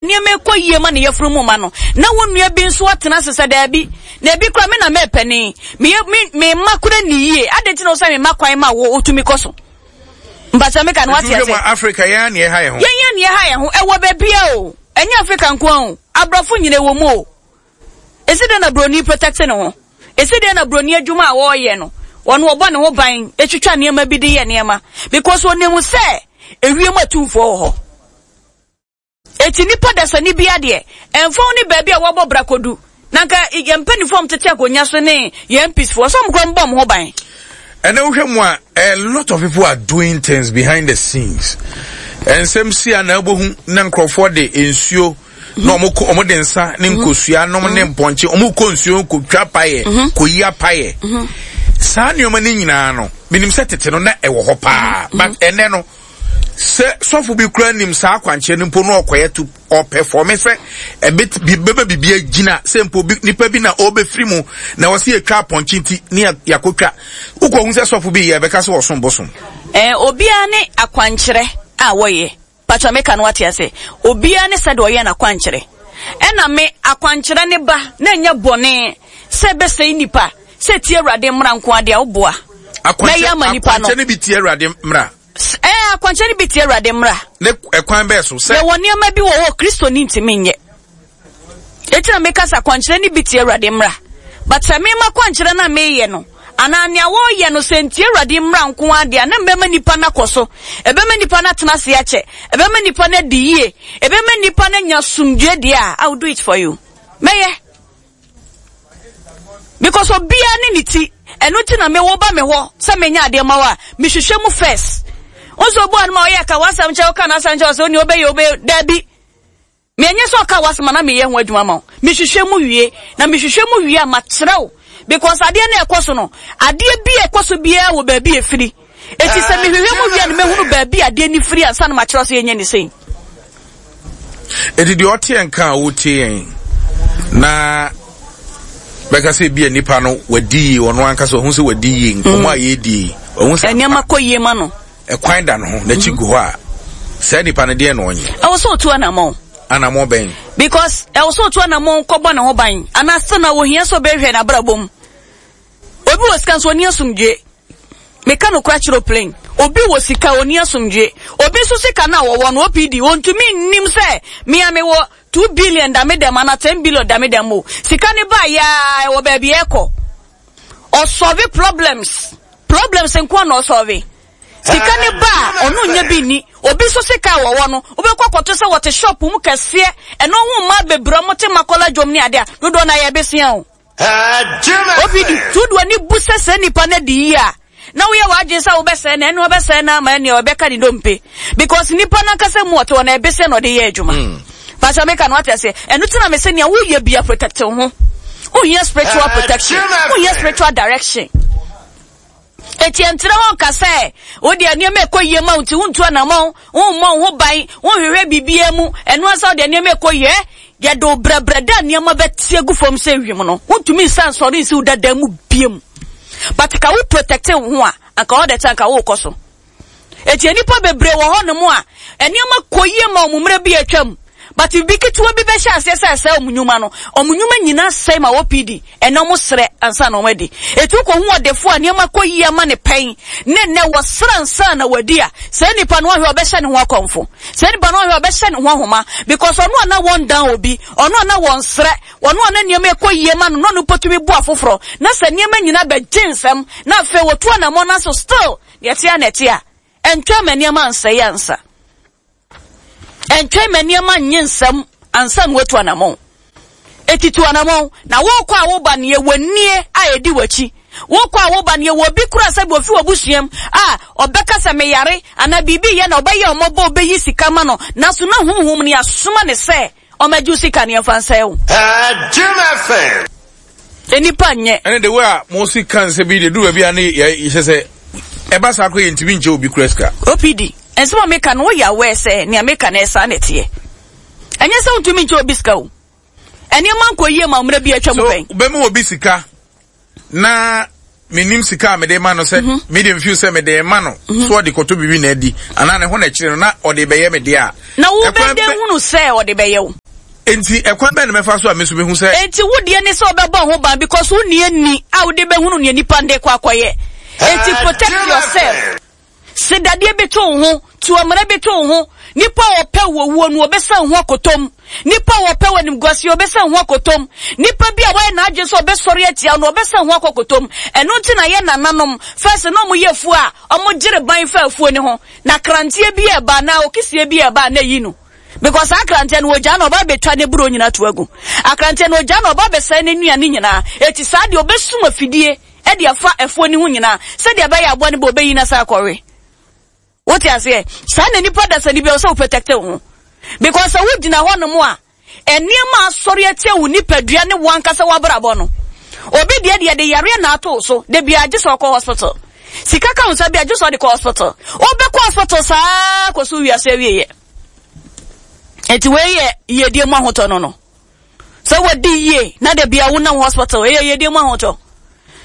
Nneɛma rekɔ yie ma ne yafunu mu ma no, na wo nua bi nso atena ase sɛ, Daabi, na ebi koraa me na mɛɛpɛne, meyɛ me me mma koraa nni yie, adɛn nti na wo sɛ memma kwan ma wo wotumi kɔ so? Mpakyɛ meka no wate Nti wohwɛ ase? mu a, Africa yɛn ara na yɛha yɛn ho. Yɛn ara na yɛha yɛn ho, ɛwɔ baabiara o, ɛnyɛ Africa nko ara o, aborɔfo nyina ɛwɔ mu o. Esi dɛn na broni protect ne ho? Esi dɛn na broni adwuma a ɔreyɛ no, ɔno ɔbɔ ne ho ban, etwitwa nneɛma bi de yɛ nneɛma, because onim sɛ ewiem atumfoɔ wɔ hɔ. Enti nipa dasani biara deɛ, ɛmfa ho ne baabi a wabɔ bra kɔdu, na anka yɛn mpanimfoɔ a wɔtete akonnwa so ne yɛn MPs foɔ, sɛ wɔn koraa wɔbɔ wɔn ho ban. Ɛnɛ wohwɛ mu a, a lot of people are doing things behind the scenes. Nsɛm si a na abohu na nkurɔfoɔ de nsuo na wɔn kɔ wɔn de nsa ne mhm. nkosua nom ne mhm. mpɔnkye wɔn kɔ nsuo kɔtwa payɛ mhm. kɔyi apayɛ. Saa nneɛma no nyinaa no, menim sɛ tete no na ɛwɔ hɔ paa, but ɛnɛ no. Sɛ sɔfo bi kura nim saa akwankyerɛ no mpo na ɔkɔyɛ to ɔpɛfɔme sɛ ɛbɛ bɛma biribi agyina sɛ mpo bi nipa bi na ɔbɛfiri mu na wɔsi yɛtwa apɔnkye nti ne yɛakɔtwa wokɔhu sɛ sɔfo bi yɛ ɛbɛka sɛ ɔsom bosom. Ɛɛ obiara ne akwankyerɛ a wɔyɛ patwa meka no wate ase obiara ne sɛdeɛ ɔyɛ n'akwankyerɛ ɛna me akwankyerɛ ne ba na ɛnyɛ bɔne sɛ ɛbɛsɛe nipa sɛ tie awurade mmara nko adeɛ a woboa mɛyɛ ama nipa no akwankyerɛ no bi tie awurade mmara Ɛɛ, akwankyerɛ no bi tia Awurade mmara. Ne ɛkwan bɛɛ so sɛ. Yɛwɔ nneɛma bi wɔ hɔ Kristoni ntumi nyɛ. Eti na meka sɛ akwankyerɛ no bi tia Awurade mmara. But sɛ mema kwankyerɛ no a meyɛ no, anaa nea wɔreyɛ no sɛ ntia Awurade mmara nko ara deɛ a, na mbɛma nipa no akɔ so. Ɛbɛma nipa no atena ase akyɛ. Ɛbɛma nipa no adi yie. Ɛbɛma nipa no anya asomdwoeɛ deɛ a, I will do it for you. Mɛyɛ. Because obiara ne ne ti. Ɛno nti na me wo ba me hɔ sɛ menyɛ adeɛ ma wo a, mehwehwɛ mu first. Nso obu anoma ɔyɛ ka w'asɛm kyɛ woka n'asɛm kyɛ ɔsɛ onii obɛyɛ obɛyɛ daabi. Menyɛ sɛ ɔka w'asɛm a na meyɛ ho adwuma ma wo. Mehwehwɛ mu wie na mehwehwɛ mu wie a makyerɛ wo because adeɛ no ɛkɔ so no adeɛ bi a ɛkɔ so biara wɔ baabi efiri. Eti sɛ mehwehwɛ mu wie a na mehunu baabi a adeɛ no firi ansa na makyerɛ sɛ yɛnyɛ ne sei. Eti deɛ ɔte yɛn ka a wotie yɛn na bɛka sɛ ebi a nipa no wadi yie ɔno ankasa ɔho sɛ wadi yie nkɔmɔ a yɛredi yi ɔho sɛ nneɛma kɔ yie ma no ɛkwan da no ho n'akyi gu hɔ a saa nipa no deɛ na ɔnyɛ. Ɛwɔ sɛ otu anamɔn. Anamɔn bɛn? Because ɛwɔ sɛ otu anamɔn kɔbɔ ne ho ban anaasɛ na ohia sɛ ɔbɛhwɛ n'abrabɔ mu. Obi wɔ sika nso ɔni asomdwie. Meka nokora kyerɛ wo plain. Obi wɔ sika ɔni asomdwie. Obi nso sika no a wɔwɔ no OPD ɔntumi nnim sɛ me a mewɔ 2 billion da me dɛm anaa 10 billion da me dɛm o. Sika no baa yɛ a ɛwɔ baabi ɛkɔ. Ɔsɔve problems. Problems nko na ɔsɔve. Sika no ba a ɔno nyɛ bi nni. Obi nso sika a wɔwɔ no wobɛkɔ akɔto sɛ wɔte shop mu kɛseɛ ɛno ho mmaa bebree ɔmo te makɔla dwom ne adeɛ a dodoɔ no ayɛ besia o. Obi di tu de w'ani bu sɛ saa nipa no adi yie a, na woyɛ w'adwene sɛ wobɛsɛe no, ɛne ɔbɛsɛe no ama ɛne ɔbɛka ne dompe. Because nipa no ankasa mu ɔte hɔ no ɛbesɛ na ɔde yɛ adwuma. Hmm. Pastor meka no wate aseɛ. Ɛno ti na me sɛ nea woyɛ bia protect wo ho. Wohia spiritual protection. Wohia spiritual direction. Enti ɛntena hɔ nka sɛ, wo deɛ nneɛma ɛkɔ yie ma wo nti wontu anammɔn, wommɔ wo ho ban, wonhwehwɛ biribiara mu, ɛno ara sɛ wo deɛ nneɛma ɛkɔ yie. Yɛde wo brɛbrɛ da nneɛma bɛte agu fam sɛ wim no, wontumi nsan nsɔre nsi wo dada mu biom. But ka wo protect wo ho a, anka all the time ka wokɔ so. Enti nnipa bebree wɔ hɔnom a, nneɛma kɔ yie ma wɔn mmerɛ bi atwam. But biribi ketewa bi bɛhyɛ aseɛ sɛ ɛsɛe wɔn nnwuma no, wɔn nnwuma nyinaa sɛe ma wɔpii Ɛnnɛ wɔsrɛ ansa na wɔadi. Enti wokɔhu ɔdefo a nneɛma kɔ yie ama no pɛn, ne nnɛ wɔsrɛ ansa na wadi a, saa nipa no ɔhwɛ a ɔbɛhyɛ ne ho akɔmfo. Saa nipa no ɔhwɛ a ɔbɛhyɛ ne ho ahoma because ɔno a na wɔndan obi, ɔno a na wɔnsrɛ, ɔno a na nneɛma ɛkɔ yie ma no, na ɔno mpo tumi boa afoforɔ. Na sɛ nneɛma nyinaa bɛgye nsam na afei wɔtu anammɔn nanso still deɛ ɛte ara na ɛte a, ɛntwɛn ma nneɛma nsɛe ansa. Ɛntwɛn ma nneɛma nnye nsam ansa na woatu anammɔn. Eti tu anammɔn, na wokɔ a woba no yɛwɔ nie a edi w'akyi. Wokɔ a woba no yɛwɔ obi koraa sɛ bi ofi w'abusuam a ɔbɛka sɛ meyare anaa biribi yɛ na ɔbɛyɛ ɔmmɔbɔ obeyi sika ma no, nanso na honhom no yɛasoma no sɛ ɔmmɛgye wo sika no yɛmfa nsɛe wo. Jim FM. Nnipa nyɛ. Ɛne the way a mo si ka nsɛm yi deɛ du baabi a ne yɛ hyɛ sɛ ɛba saa koraa yɛntumi nkyɛ obi kura sika. OPD, nsɛm a meka no woyɛ aware sɛ nea meka no ɛyɛ saa na ɛteɛ? Ɛnyɛ sɛ wontumi nkyɛ obi sika o. Nneɛma nkɔ yie ma mmerɛ bi atwa mu pɛn. So wobɛma obi sika na. menim sika a mede ma no sɛ mhm. mede mfew sɛ mede ma no mhm. so ɔde kɔtɔ biribi na adi anaa ne ho na akyire no na ɔde bɛyɛ me deɛ a. Na wobɛdɛ hunu sɛ ɔde bɛyɛ wo. Enti ɛkwan bɛn na mɛfa so a me nso mehu sɛ. Enti wo deɛ ne sɛ wobɛbɔ ho ban because wonni ani a wode bɛhunu nea nipa no de kɔ akɔyɛ. Enti protect yourself. Se dadeɛ bi to wo ho, tu amena bi to wo ho, nipa a ɔpɛ wo owuo no, ɔbɛsan wo ho akɔtɔ mu. Nipa a ɔpɛ wo animguaseɛ, ɔbɛsan wo ho akɔtɔ mu. Nipa bi a wayɛ n'adwene sɛ ɔbɛsɔre atia wo no, ɔbɛsan wo ho akɔ akɔtɔ mu. Ɛno nti na yɛn nananom, first na wɔyɛ afuo a, wɔgyere ban fa afuo no ho. Na kranteɛ bi reba anaa okisie bi reba a, na ɛyi no. Because saa akranteɛ no wɔgyaa no ɔba abɛtwa ne buro nyinaa to agu. Akranteɛ no wɔgyaa no ɔba abɛsɛe ne nnuane nyinaa. Eti saa deɛ ɔbɛsum afidie de afa afuo no ho nyinaa sɛdeɛ ɛbɛyɛ aboa no bɛ ɔbɛyi no asan akɔwe. Wote aseɛ? Saa na nipa dasani bi a ɔsɛ wo protect wo ho. Because sɛ wogyina hɔ nom a, nneɛma asɔre atia wo nipadua ne wo ankasa w'abrabɔ no. Obi deɛ deɛ de yareɛ na ato so, da biara gye sɛ ɔkɔ hospital. Sika ka wo nsa bi a gye sɛ ɔde kɔ hospital. Wobɛkɔ hospital saa kɔsi wiase awieɛ. Enti wei yɛ yiedie mu ahotɔ no no. Sɛ wadi yie na da bia wonam hospital, ɛyɛ yiedie mu ahotɔ.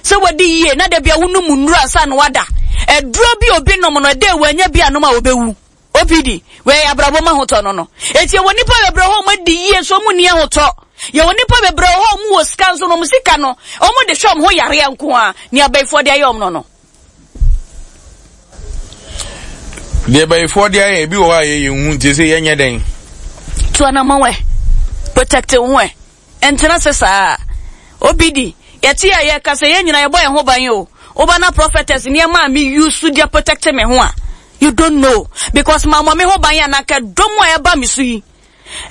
Sɛ wadi yie na da bia wonom nnuro ansa na wada. Aduro bi obi nom no, ɛdɛ wanya bi anom a obɛwu. OPD, wei yɛ abrabɔ mu ahotɔ no no. Enti yɛwɔ nnipa bebree hɔ a wɔadi yie nso wɔn nni ahotɔ. Yɛwɔ nnipa bebree hɔ a wɔn wɔ sika nso no wɔn sika no wɔn de hwɛ wɔn ho yareɛ nko ara. Nea abayifoɔ de ayɛ wɔn no no. Deɛ bayifoɔ de ayɛ ebi wɔ hɔ a yɛyɛ nhu nti sɛ yɛnyɛ dɛn. Tu anamɔn ɛ, protect wo ho ɛ, ntena ase saa. OPD, yɛte a yɛka sɛ yɛn nyinaa yɛbɔ yɛn ho ban o. Woba na prophetess nneɛma a me use de protect me ho a, you don't know. Because mammɔ me ho ban a na anka dɔm a ɛba me so yi,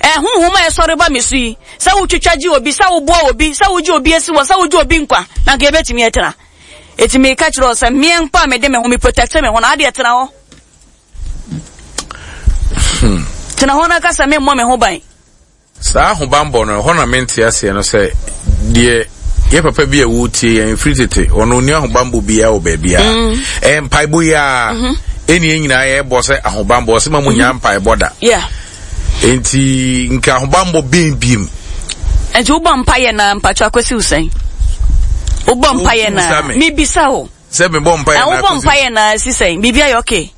ɛhonhom a ɛsɔre ba me so yi, sɛ wotwitwa gye obi, sɛ woboa obi, sɛ wogye obi asi hɔ, sɛ wogye obi nkwa, na anka yɛbɛtumi atena. Eti meka kyerɛ wo sɛ meɛ mpo a mede me ho, me protect me ho na adeɛ tena hɔ. Hmm. Tena hɔ na ka sɛ memmɔ me ho ban. Saa ahobanbɔ no, ɛhɔ na mente aseɛ no sɛ deɛ yɛ papa bi a wɔretie yɛn firi tete ɔno ɔni ahobanbɔ biara wɔ baabiara mm. ɛyɛ mpaebɔ yi a mm-hmm. ɛne yɛn nyinaa yɛbɔ sɛ ahobanbɔ ɔsɛ ma mu nyaa mm-hmm. mpaebɔ da nti nka ahobanbɔ bɛn biem nti wobɔ mpaeɛ na mpatwa akɔsi wo sɛn wobɔ mpaeɛ na mebisa wo sɛ mebɔ mpaeɛ na wobɔ mpaeɛ na si sɛn biribi ayɛ okay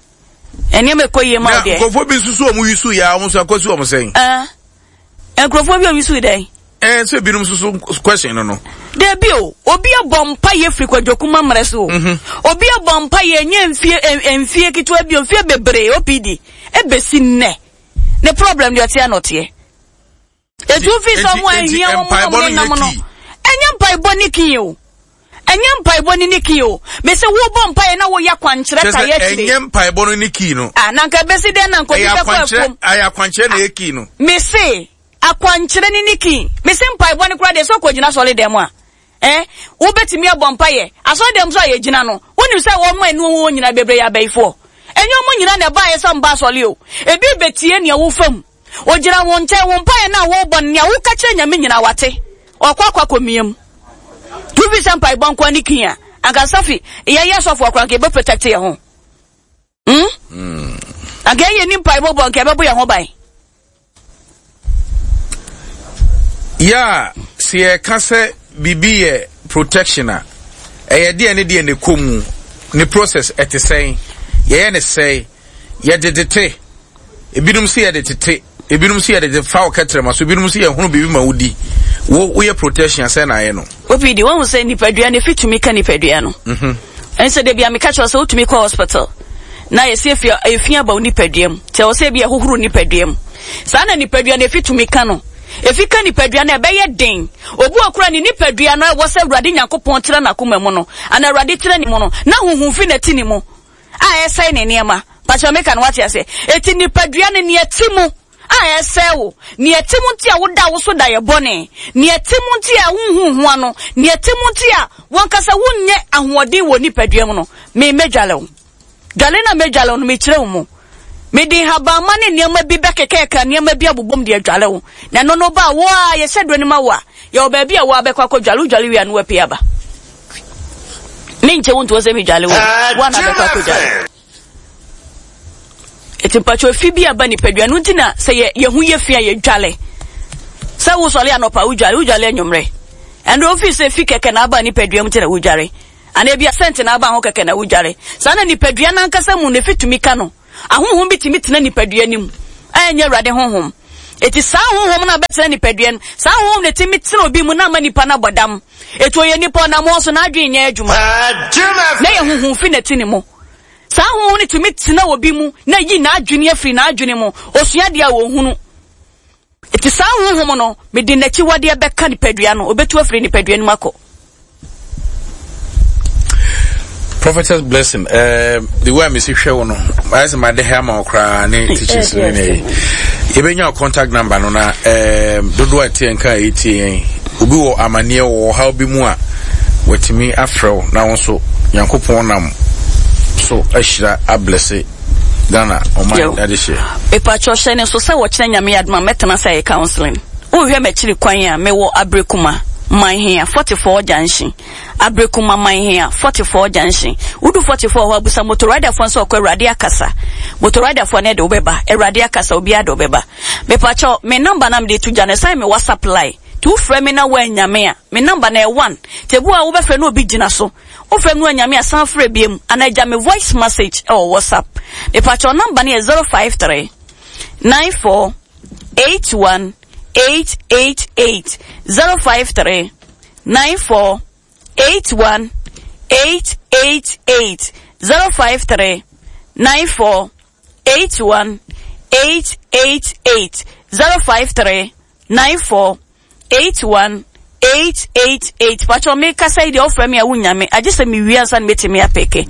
Nneɛma ɛkɔ yie ma wo deɛ. Na nkurɔfoɔ bi nso so wɔn yusu yɛ a wɔn nso akɔsi wɔn sɛn. Ɛɛ nkurɔfoɔ bi a yusu dɛn. Ɛɛ sɛ ebinom nso so question no no. Dabi o, obi abɔ mpa yɛ firi kwadwokuma mmerɛ so o. Mhm. Obi abɔ mpa yɛ nyɛ mfie mfie ketewa bi o, mfie bebree OPD ebesi nnɛ. Ne problem deɛ ɔteɛ na ɔteɛ. Etu fi sɛ ɔmo ahia wɔn na ɔmo nenam no. Ɛnyɛ mpaebɔ ne kii o. Ɛnyɛ mpaebɔ ne ne kii o. Mese wobɔ mpaeɛ na woyɛ akwankyerɛ ta yɛ akyire. Ɛnyɛ mpaebɔ no ne kii no. Ah, na nka ebesi dɛn na nka obi bɛkɔ afuom. Ɛyɛ akwankyerɛ na ɛyɛ kii no. Mese akwankyerɛ ne ne kii. Mese mpaebɔ no koraa deɛ sɛ ɔkɔgyina sɔre dɛm a. Eh, wobɛtumi abɔ mpaeɛ. Asɔre dɛm nso a yɛgyina no, wonim sɛ wɔn a ɛne wɔn wɔ nyinaa bebree yɛ abayifoɔ. Ɛnyɛ wɔn nyinaa na ɛbaeɛ sɛ wɔba asɔre o. Ebi bɛtie nea wofa mu. Ogyina wo nkyɛn, wo mpaeɛ no a worebɔ no, nea woka kyerɛ Nyame nyinaa wate. Ɔkɔ akɔ akɔmia mu. Nti wofi sɛ mpaebɔ nkoa ne kii a, anka Safi, yɛyɛ asɔfoɔ koraa anka yɛbɛ protect yɛn ho. Hmm? Mm. Anka yɛyɛ ni mpaebɔ bɔ anka yɛbɛbɔ yɛn ho ban. Yeah, sɛ yɛka sɛ biribi yɛ protection a, ɛyɛ deɛ ne deɛ ne kɔ mu, ne process ɛte sɛn, yɛyɛ ne sɛn, yɛde tete. Ebinom se yɛde tete, ebinom se yɛde fa wo kɛtrɛma so, ebinom se yɛhono biribi ma wodi. Wo woyɛ protection sɛ na ayɛ no. Obi di wɔn sɛ nipadua no efi tumi ka nipadua no. Mhm. Ɛnsɛ de bia meka kyerɛ sɛ wotumi kɔ hospital na yɛsi efi efi aba wo nipadua mu. Kyɛ wɔ sɛ ebi ɛhohoro nipadua mu. Saa na nipadua no efi tumi ka no. Efi ka nipadua no ɛbɛyɛ den. Obi wɔ kora ne nipadua no ɛwɔ sɛ Awurade Nyankopɔn tena n'akoma mu no, ana Awurade tena ne mu no, na huhu fi na ti ne mu. a ɛsɛe ne nneɛma. Pakyɛ meka no wate aseɛ. Eti nipadua no nea ɛte mu a ɛsɛe wo, nea ɛte mu nti a woda wo so da yɛ bɔne, nea ɛte mu nti a wonhu ho ano, nea ɛte mu nti a wankasa wonyɛ ahoɔden wɔ nipadua mu no, me mɛdwale wo. Dwale na mɛdwale wo no mekyerɛ wo mu. Mede nhabamma ne nneɛma bi bɛkekɛka nneɛma bi abobom de adwale wo. Na ɛno no ba a wo a yɛhyɛ duro no ma wo a, yɛwɔ baabi a wo a bɛkɔ akɔdwale, wodwale wie a na woapue aba. Menkyɛ wo ntoɔ sɛ medwale wo, wo a na bɛkɔ akɔdwale. Ɛti mpakyɛ fi bi aba nipadua no nti na sɛ yɛ yɛho yɛ fi a yɛdwale. Sɛ wosɔre anɔpa wodwale, wodwale anwummerɛ. Ɛnde wofi sɛ fi kɛkɛ na aba nipadua mu nti na wodware. Anaa ebia sɛnte na aba ho kɛkɛ na wodware. Saa na nipadua no ankasa mu no efi tumi ka no. Ahonhom bi tumi tena nipadua no mu a ɛnyɛ Awurade honhom. Eti saa honhom no a bɛtena nipadua no, saa honhom no tumi tena obi mu na ama nipa no abɔ dam. Eti ɔyɛ nipa ɔnam hɔ so n'adwene nyɛ adwuma. Na ɛyɛ honhom fi na ɛte ne mu. Saa honhom no tumi tena obi mu na yi n'adwene afiri n'adwene mu. Osua adeɛ a ɔnhunu. Eti saa honhom no, mede n'akyiwadeɛ bɛka nipadua no, obetu afiri nipadua no mu akɔ. Prophetess Blessing, uh, the way I miss hwɛ wo no, ayɛ sɛ made ha ama wo koraa ne teachings no ne ɛyi. Yɛbɛnya wo contact number no na um, dodoɔ a ɛteɛ nka a ɛtie yɛn. Obi wɔ amanneɛ wɔ ɔhaw bi mu a, watumi afrɛ wo na wo nso Nyankopɔn nam so ahyira ablɛse Ghana ɔman adehyeɛ. Mepakyɛw hyɛ ne nso sɛ wɔkyena Nyame yɛ adom a mɛtena ase ayɛ counseling. Wohwehwɛ m'akyiri kwan a, mewɔ Abrekuma, Manhea, 44 junction. Abrekuma, Manhea, 44 junction. Wodu 44 hɔ a, busa motoriderfoɔ no sɛ ɔkɔ Awurade akasa. Motoriderfoɔ no de wo bɛba. Awurade akasa, obiara de wo bɛba. Mepakyɛw, me number no a mede to gya no, ɛsan yɛ me WhatsApp line. Nti wofrɛ me na woannya me a, me number no ɛyɛ one. Nti ebi wɔ hɔ a wobɛfrɛ na obi gyina so. Wofrɛ me no anyame a san frɛ biom anaa gya me voice message wɔ WhatsApp. Mepakyɛw number no yɛ 053 94 81 888 053 94 81 888 053 94 81 888 053 94 81 888 pakyɛw me kasa yi deɛ wofrɛ me a wonya me agye sɛ mewie ansa na mɛtumi apeke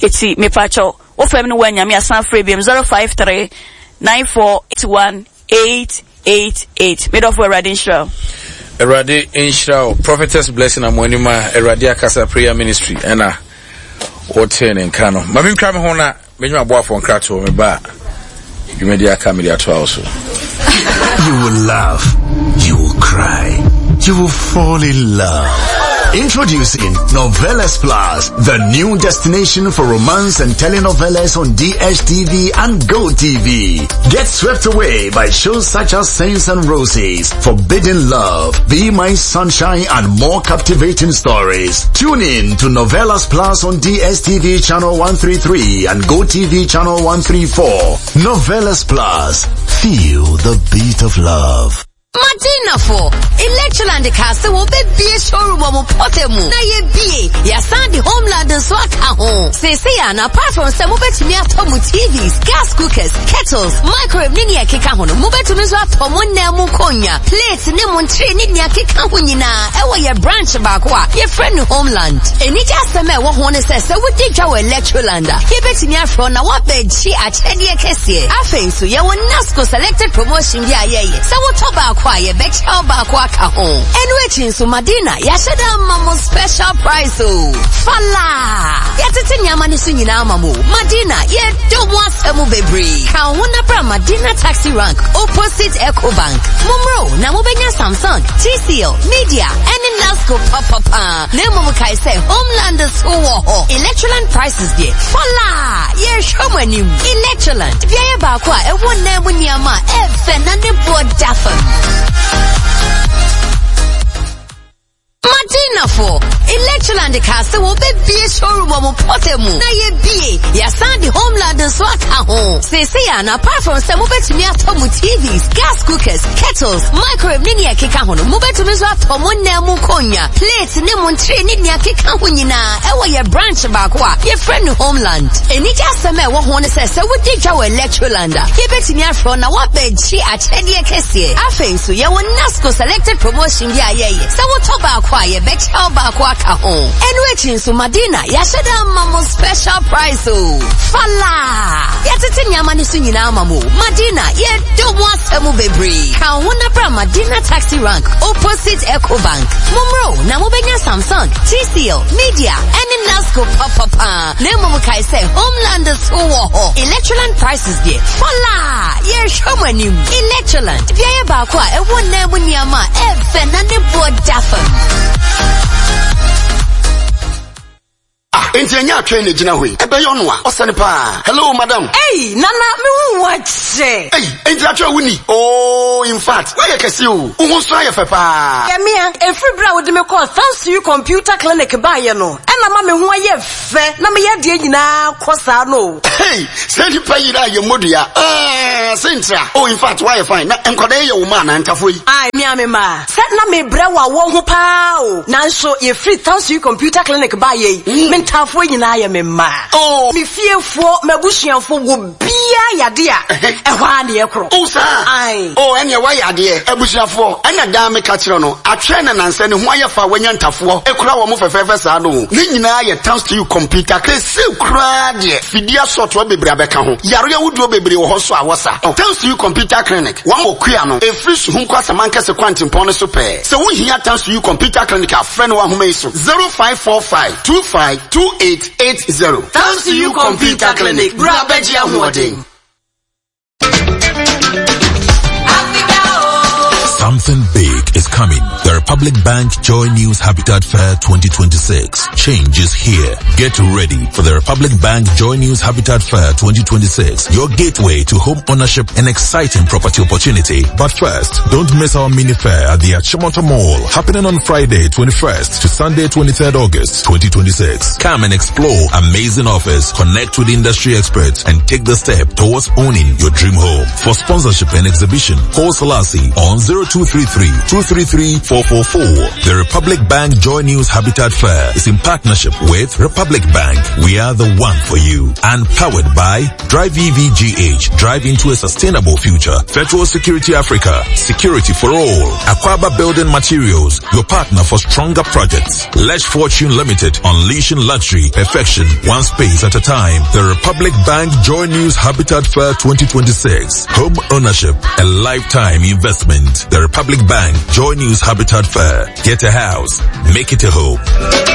eti me pakyɛw wofrɛ me no woanya me asan frɛ biom 053 94 81 888 medɔfo awurade nhyira wo. Awurade nhyira wo prophetess blessing amoanim a Awurade akasa prayer ministry ɛna wotee ne nka no ma mentwa me ho na Menya aboafo nkratoɔ me ba a dwumadi aka mede atoa wo so. You will laugh, you will cry, you will fall in love. Introducing Novelas Plus, the new destination for romance and telenovelas on DSTV and GoTV. Get swept away by shows such as Saints and Roses, Forbidden Love, Be My Sunshine and more captivating stories. Tune in to Novelas Plus on DSTV channel 133 and GoTV channel 134. Novelas Plus. Feel the beat of love. Madinafo, Electroland kaa sɛ wɔbɛbie showroom wɔ mo mpɔtam mu na yɛbie yɛasan de Homeland nso aka ho. Seesei a na apart from sɛ mobɛtumi atɔ mo TVs, gas cookers, kettles, microwave ne nea ɛkeka ho no, mobɛtumi nso atɔ mo nnan mu nkonnwa, plate ne mo ntere ne nea ɛkeka ho nyinaa ɛwɔ yɛ branch baako a yɛfrɛ no Homeland. Anigye asɛm a ɛwɔ ho ne sɛ sɛ wodi dwa wɔ Electroland a, yɛbɛtumi afrɛ wo na woabɛgye akyɛdeɛ kɛseɛ. Afei nso yɛwɔ Nasco selected promotion bi a yɛyɛ. Sɛ wotɔ baako a, yɛbɛkyɛ wo baako aka ho. Ɛno akyi nso, Madina, yɛahyɛ da ama mo special price o. Fala! Yɛtete nneɛma no so nyinaa ama mo. Madina, yɛdɔ mo asɛm bebree. Ka wo ho na bra Madina Taxi Rank, opposite Ecobank. Mommra o, na mobɛnya Samsung, TCL, Media, ɛne Nasco papapa. Na mmom kae sɛ Homeland so wɔ hɔ. Electroland prices deɛ, fala! Yɛrehwɛ mo anim. Electroland, beaeɛ baako a ɛwɔ nnan mu nneɛma a ɛfɛ na ne boɔ da fam. Madinafo, Electroland kaa sɛ wɔbɛbie showroom wɔ mo mpɔtam mu na yɛbie yɛasan de Homeland nso aka ho. Seesei a na apart from sɛ mobɛtumi atɔ mo TVs, gas cookers, kettles, microwave ne nea ɛkeka ho no, mobɛtumi nso atɔ mo nnan mu nkonnwa, plate ne mo ntere ne nea ɛkeka ho nyinaa ɛwɔ yɛ branch baako a yɛfrɛ no Homeland. Anigye asɛm a ɛwɔ ho ne sɛ sɛ wodi dwa wɔ Electroland a, yɛbɛtumi afrɛ wo na woabɛgye akyɛdeɛ kɛseɛ. Afei nso yɛwɔ Nasco selected promotion bi a yɛyɛ. Sɛ wotɔ baako a yɛbɛkyɛ wo baako aka ho. Ɛno akyi nso Madina yɛahyɛ da ama mo special price o. Fala! Yɛtete nneɛma no so nyinaa ama mo. Madina yɛdɔ mo asɛm bebree. Ka wo ho na bra Madina Taxi Rank opposite Ecobank. Mommra o na mobɛnya Samsung, TCL, Media ɛne Nasco papapa. Na mmom kae sɛ Homeland so wɔ hɔ. Electroland prices deɛ fala! Yɛrehwɛ mo anim. Electroland, beaeɛ baako a ɛwɔ nnan mu nneɛma a ɛfɛ na ne boɔ da fam. Ah, enti ɛnyɛ atwɛn na egyina hɔ yi. Ɛbɛyɛ ɔno a, ɔsɛ no paa. Hello, madam. Ei, Nana, me hu wo akyɛ. Ei, enti atwɛn wo ni. Oh, in fact, woayɛ kɛse o. Wo ho nso ayɛ fɛ paa. Yɛmea, ɛfiri berɛ a wode me kɔɔ Thanks to You Computer Clinic baeɛ no, ɛna. na ama me ho ayɛ fɛ na meyɛ adeɛ nyinaa kɔ saa no o. Hey, sɛ nipa yera a yɛ mmɔdua. Ah, sentira. Oh, in fact, woayɛ fine. Na nkwadaa yi yɛ wo mma anaa ntafoɔ yi? Ae, me a me mma. Sɛ na mebrɛ wɔ awɔ ho paa o. Nanso yɛfiri Thanks You Computer Clinic baeɛ yi, me ntaafoɔ nyinaa yɛ me mma. Oh. Me fiefoɔ, m'abusuafoɔ, obiara yɛ adeɛ a, ɛhɔ ara na yɛkorɔ. Oh, saa? Ae. Oh, ɛneɛ woayɛ adeɛ. Abusuafoɔ, ɛna daa meka kyerɛ no, atwɛn na nansa ne ho ayɛ fa a wanya ntafoɔ kura wɔn fɛfɛɛfɛ saa no o. Ne nyinaa yɛ Thanks To You Computer Clinic. Seesei koraa deɛ, fidie asɔɔtoa bebree abɛka ho. Yareɛ ahodoɔ bebree wɔ hɔ nso a wɔsa. Tansuyi Computer Clinic, wɔn wɔ Kua no, ɛfiri Suhum kɔ Asamankɛse kwantempɔn no so pɛɛ. Sɛ wohia Tansuyi Computer Clinic a, frɛ no wɔ ahoma yi so, 0545 25 2880. Tansuyi Computer Clinic, bra bɛgye ahoɔden. Something big is coming. The Republic Bank Joy News Habitat Fair 2026. Change is here. Get ready for the Republic Bank Joy News Habitat Fair 2026, your gateway to home ownership and exciting property opportunity. But first, don't miss our mini fair at the Achimota Mall, happening on Friday 21st to Sunday 23rd August 2026. Come and explore amazing offers, connect with industry experts, and take the step towards owning your dream home. For sponsorship and exhibition, call Selassie on 0233-233-444. The Republic Bank Joy News Habitat Fair is in partnership with Republic Bank. We are the one for you. And powered by Drive EVGH. Drive into a sustainable future. Federal Security Africa. Security for all. Aquaba Building Materials. Your partner for stronger projects. Lesh Fortune Limited. Unleashing luxury, perfection, one space at a time. The Republic Bank Joy News Habitat Fair 2026. Home ownership, a lifetime investment. The Republic Bank Joy News Habitat Fair. Get a house, make it a home.